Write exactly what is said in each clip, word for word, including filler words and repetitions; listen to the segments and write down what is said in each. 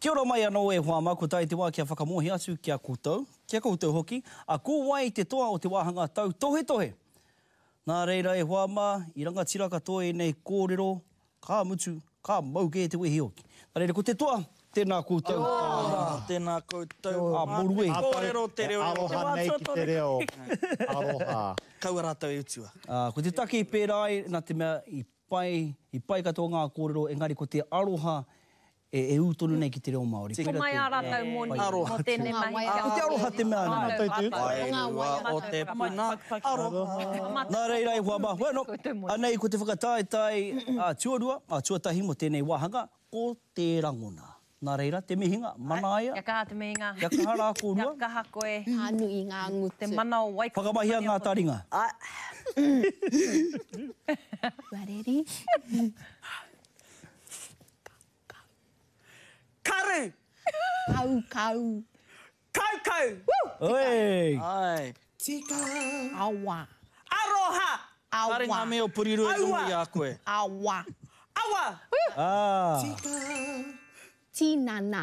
Kia ora mai anō e hoa mā, ko tae te wā kia whakamōhio atu ki a koutou, ki a koutou hoki, a ko wai te toa o te wāhanga tautohetohe. Nā reira e hoa mā, i rangatira katoa ēnei kōrero, ka mutu, ka mau kē te wehi hoki. Nā reira, ko te toa, tēnā koutou. Ora, tēnā koutou. A moru e. Kōrero te reo. Aroha nei ki te reo. Aroha. Kaua rātou e utua. Ko te take i pērā ai, nā te mea i pai, i pai katoa ngā kōrero, engari ko te aroha e, e ū tonu nei ki te reo Māori. Ko mai ā rātou moni mō tēnei mahi. Ko te aroha te mea nui. Wairua o te puna aroha. Nā reira e hoa mā, bueno, anei ko te whakataetae a tuarua, a tuatahi mō tēnei wāhanga, ko te rangona. Nā reira, te mihinga, manaia. Kia kaha te mihinga. Kia kaha rā kōrua. Kia kaha koe. Ka nui ngā ngutu. Te mana o Waikato. Whakamahia ngā taringa. Ready? Karu! Kau, kau. Kau, kau! Woo! Oi! Ai. Tika. Awa. Aroha! Awa. Kare ngā mea o Porirua i runga i a koe. Awa. Awa! Ah. Tika. Tinana.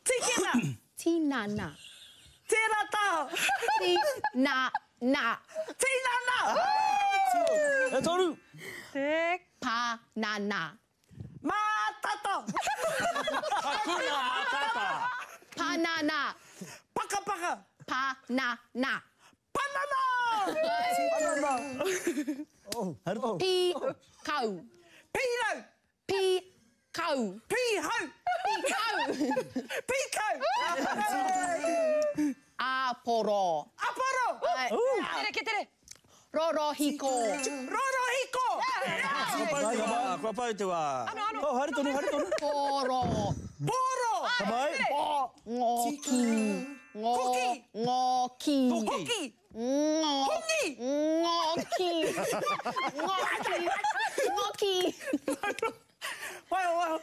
Tikina! Tinana. Tērā taha! Tinana. Tinana! E toru! Te. Panana. Mātata! Hakuna Matata! Panana! Pakapaka! Panana! Panana! Panana! Oh. Pī-kau. Pīrau! Pī-kau. Pīhau! Pī-kau! Pīkau! Āporo. Aporo! Tere, ke tere! Rorohiko. Rorohiko! Kua pau te wā, kua pau te wā. Ano, ano. Oh, haere tonu, haere tonu. Poro. Poro! Ka mai. Ngōki. Ngō. Koki. Ngōki. Hoki! Ngō. Hongi! Ngōki. Ngōki. Ngōki. Waiho, waiho.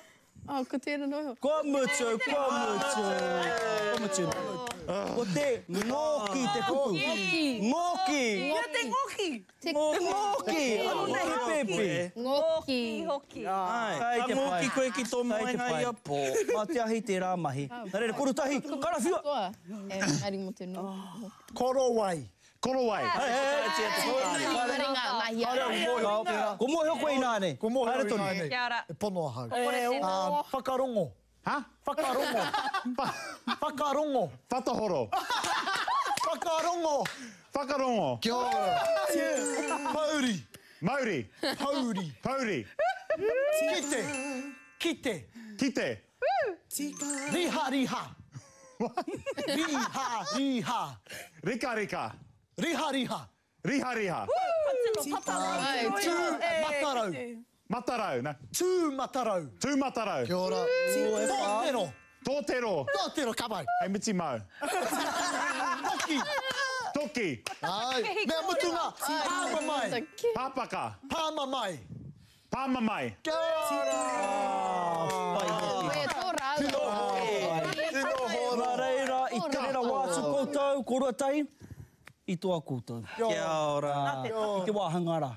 Oh, ko tēnā noho. Kua mutu, kua mutu. Kua mutu. Ko te ngōki te kupu. Ngōki. Ngōki. Kia te ngōki. Te ngōki. Ano nei he pēpi. Ngōki. Hoki. Ai, Kai ka te pai. ngōki koe ki tō Kai te moenga pai. ia pō. Mā te ahi tērā mahi. Nā reira, korutahi, karawhiua. Katoa. E, engari mō te noho. Korowai. Korowai. Hei, hei, hei. Ringa, mahi a. Ko mōhio koe ināne. Ko mōhio Haere tonu. ināne. Kia ora. E pono ahau. Kore tēnā. Um, whakarongo. Ha? Whakarongo. Whakarongo. Whatahoro. Whakarongo. Whakarongo. Kia ora. Mauri. Mauri. Pauri. Pauri. Kite. Kite. Kite. Tika. Riha riha. Riha riha. Rika rika. Riha riha. Riha riha. Ai, Tū matarau. Matarau. Na. Tū matarau. Tū matarau. Kia ora. Tōtero. Tōtero. Tōtero, ka pai. Hei miti mau. Toki. Toki. Ai. Mea mutunga. Pāmamae. Pāpaka. Pāmamae. Pāmamae. Kia ora. Pai hoki. Koe tō rāua. Tino hora. Nā reira, i tere rawa atu koutou, kōrua tahi, i toa koutou. Kia ora. I te wāhanga rā.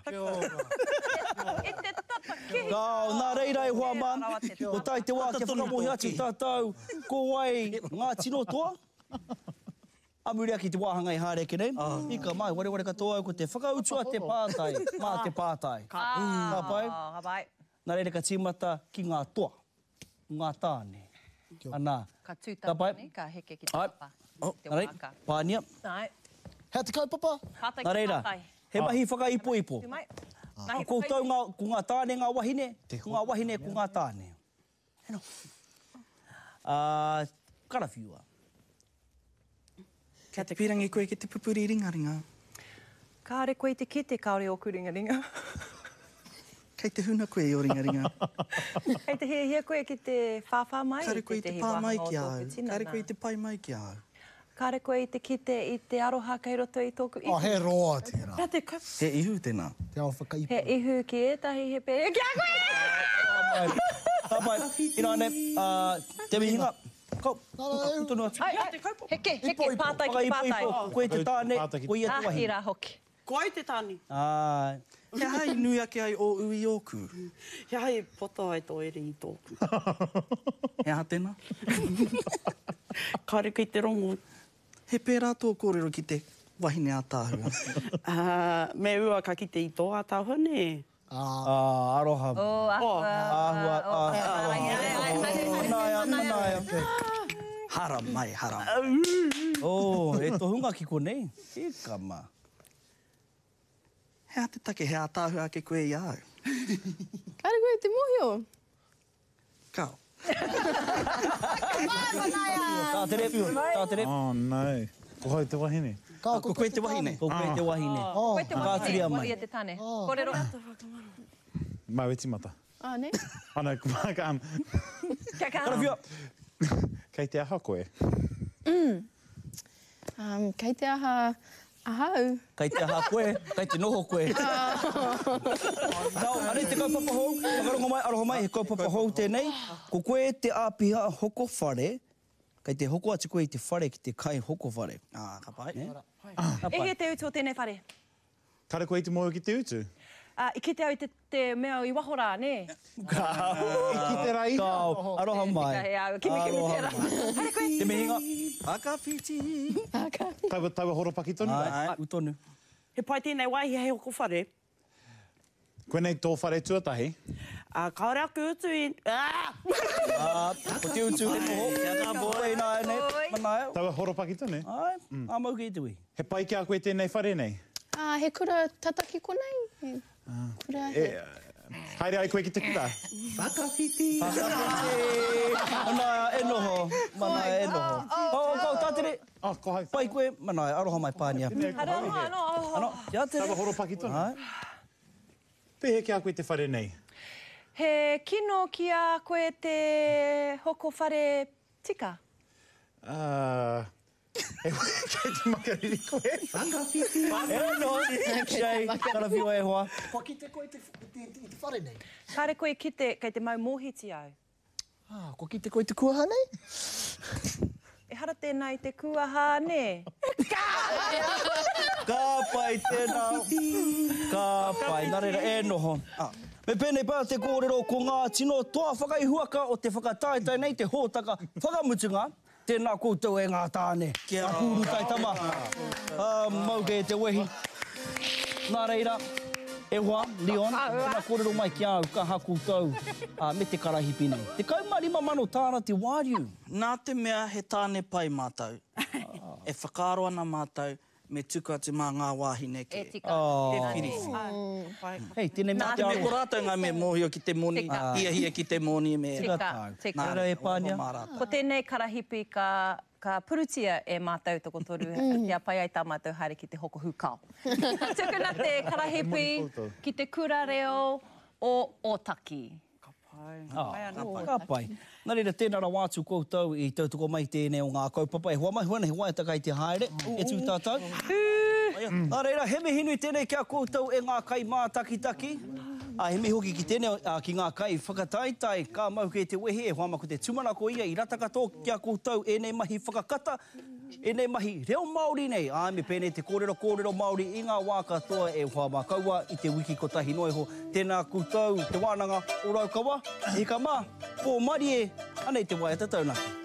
E te tata kihi. Kao, nā reira e hoa mā, ko tae te wā kia whakamōhio atu tātou, ko wai ngā tino toa? A muri ake i te wāhanga i haere ake nei, i ka mai, wareware katoa au ko te whakautua te pātai, mā te pātai. Ka pai? Ka pai. Nā reira ka tīmata ki ngā toa, ngā tāne. Anā. Ka tū Ka pai? tāne, ka heke ki te Ai. papa. Oh, Te nā reira, wāka. pānia. Ai. Hea te kaupapa? Pātai Nā ki reira, pātai. he mahi whakaipoipo. Tū mai. Ko koutou ngā, ko ngā tāne ngā wahine, ko ngā wahine ko ngā tāne. Heno. Uh, karawhiua. Kia te pīrangi koe ki te pupuri ringaringa. Kāre koe i te kite, kāore ōku ringaringa. Kei te huna koe i o ringaringa. Kei te hiahia koe ki te whāwhā mai Kāre koe i te tētehi pā mai wāhanga o ki a tōku au. tinana. Kāre koe i te pai mai ki a au. Kāre koe i te kite i te aroha kei roto i tōku ihu. Oh, he roa tērā. Kia te kaupapa. He ihu tēnā. Te ao whakaipo. He ihu ki ētahi, he pēhea ki a koe! Ka pai, ināne, uh, te mihinga. Kau, tonu atu. Ai, ai, heke, heke, pātai ki pātai. Whakaipoipo, koe te tāne, Pātai ki- ko ia te Ahi wahine. rā hoki. Ko au te tāne. Āe. He aha i nui ake ai ō ui ōku? He aha i poto ai tō ere i tōku? He aha tēnā? Kāre kei te rongo. He pērā tō kōrero ki te wahine ātaahua. Uh, me ua ka kite i tō ātaahua, nē? Ah, aroha. Oh, āhua. Āhua, aroha. Manaia, manaia. Hara mai, hara. Oh, e tohunga ki konei. E kama. He aha te take, he ātaahua ake koe i a au? Kāre koe te mōhio? Kao. Tā tere, tā tere. Oh, no. Ko hau te wahine. Kao, Ko koe te wahine. Ko koe te wahine. Koe te Whakaaturia wahine, mai. ko ia te tane. Kōrero. Mau e timata. Ah, ne? Oh, no, um, Kia kaha. Karawhia. Kei te aha koe? Um, kei te aha ahau. Kei te aha koe, kei te noho koe. Nau, anei te kaupapa hou, whakarongo mai, aroha mai, he kaupapa hou tēnei. Ko koe te āpiha hoko whare, kei te hoko atu koe i te whare ki te kai hoko whare. Ah, ka pai. Ka E pai. hea te utu o tēnei whare? Kare koe i te mōhio ki te utu? Uh, I kite au te, te mea i waho rā, nē? I ki te rā iha. Kao, aroha mai. Tika, hea, kimi kimi Aroha tērā. mai. Haere koe. Te mihinga. Whakawhiti. Taua, taua horopaki tonu. Ai, u tonu. He pai tēnei wāhi hei hoko whare. Koinei tō whare tuatahi. Uh, kāore aku utu i... Ah! Ah, ko te utu he noho. Kia kā pō ina nei, manaia. Taua horopaki tonu. Ai, a mau ki te ui. He pai ki a koe tēnei whare nei? Ah, he kura tata ki konei? He kura he... E, haere ai koe ki te kura? Whakawhiti. Whakawhiti. Manaia, e noho. Manaia, e noho. Oh, oh, tā tere. Oh, ko hau. Pai koe, manaia, aroha mai pānia. Haere anō, anō, oh. Ano, kia tere. Taua horopaki tonu. Ai. Pēhea ki a koe te whare nei? He kino ki a koe te hoko whare tika? Uh, e, kei te makariri koe? Whakawhiti. E noho. Shay, karawhiua e hoa. Kua kite koe te, te, te, te whare nei? Kāre koe kite kei te mau mōhiti au. Ah, kua kite koe te kuaha nei? Ehara tēnā i te kuaha, nē? Ka pai tēnā. Ka pai. Nā reira, e noho. Me pēnei pā te kōrero ko ngā tino toa whakaihuaka o te whakataetae nei, te hōtaka whakamutunga. Tēnā koutou e ngā tāne. Kia kūru taitama. Ah, mau kei te wehi. Nā reira, e hoa, Leon, tēnā kōrero mai ki au, ka ha koutou ah, me te karahipi nei. Tekau mā rima mano tāra te wāriu. Nā te mea he tāne pai mātou. E whakaaro ana mātou me tuku atu mā ngā wāhine ke. E tika. Oh. E whiriwhiri. Hei, tēnei mea Nā te te mea ko aroha. rātou ngā mea mōhio ki te moni, Tika. hiahia ki te moni me... Tika Tika, tāu. tika. Nā reira e pānia. Mā rātou. Ko tēnei karahipi ka, ka purutia e mātou tokotoru kia pai ai tā mātou haere ki te hoko hūkao. Tukuna te karahipi ki te kura reo o Ōtaki. Ka pai. Ah, ka pai. Nā reira, tēnā rawa atu koutou i tautoko mai tēnei o ngā kaupapa. E hoa mai huana, he waiata kai te haere, e tū tātou. Nā reira, he mihi nui tēnei kia koutou e ngā kai mātakitaki. A, he mihi hoki ki tēnei, a, ki ngā kai whakataetae, ka mau kei te wehi, e hoa ma ko te tūmanako ia i rata katoa kia koutou ēnei mahi whakakata, ēnei mahi reo Māori nei. Ā, me pēnei te kōrero kōrero Māori i ngā wā katoa e hoa mā kaua i te wiki kotahi noa iho. Tēnā koutou te wānanga o Raukawa, e hika mā, pō marie, anei te waiata taunaki.